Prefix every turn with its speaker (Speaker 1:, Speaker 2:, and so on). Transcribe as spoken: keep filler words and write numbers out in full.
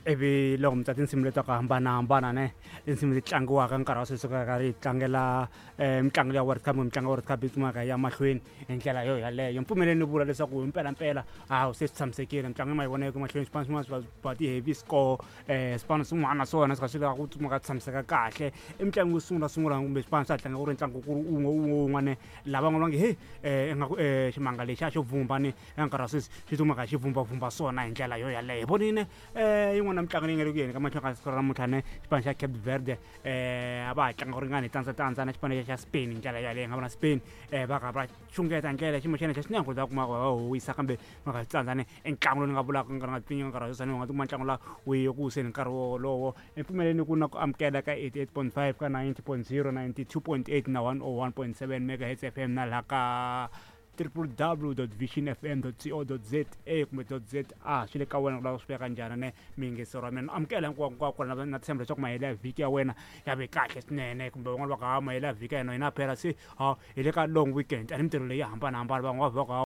Speaker 1: Ivi loko mi twa tinsimu leti ta ku hambanahambana ne tinsimu leti tlangiwaka nkarhi wa sweswi ka karhi hi tlangela um mitlangu ya World Cup, mitlangu ya World Cup yi tsumaka ya mahlweni hi ndlela yo yaleyo. Mpfumeleni ni vula leswaku hi mpelampela hawu, se swi tshamisekile, mitlangu ma yi vona eku mahlweni, swipano swin'wana swi va ti-heavy score, um swipano swin'wana naswona swi kha swi lava ku tsumaka tshamiseka kahle. I mitlangu yo sungula sungula kumbe swipano swa ha tlanga ku ri ntlangu ku ri wun'we wun'we wun'wana, lavan'wana va nge he um ingaku um ximanga lexi a xo vumba ni eka nkarhi wa sweswi xi tsumaka xi vhumbavhumba swona hi ndlela yo yaleyo. Hi vonile um yin'wana ya mitlangu leyi nga le ku yeni ka mahlweni ka siku ra namuntlha ne xipano xa Cape Verde um a va ha tlanga ku ringana hi tandza tandza na xipano xa Spain hi ndlela yaleyo. Nga vona Spain um va kha va xungeta ndlela xiyimo xa le henhla swinene ku ta kuma va howisa, kambe va nga swi tsandzani. I ntlangu lowu ni nga vulaka nga nga pfinyi nkarhi wa sweswi, u nga tikuma ntlangu laha wu ye ku wiseni nkarhi wolowo. Mpfumeleni ku na ku amukela ka eighty-eight point five, ka ninety point zero, ninety-two point eight na one oh one point seven megahertz F M, na laha ka W W W vision F M co za kumbe za. Swi le ka wena ku lava swi veka njhani ne miyingisero wa mina. Amukela hinkwako hinkwako na na tshemba leswaku mahelo ya vhiki ya wena ya ve kahle swinene, kumbe van'wana va ka ha mahelo ya vhiki ya hina hina phela se ha hi le ka long weekend, a ni mintirho leyi ya hambanahambana, van'wana va ka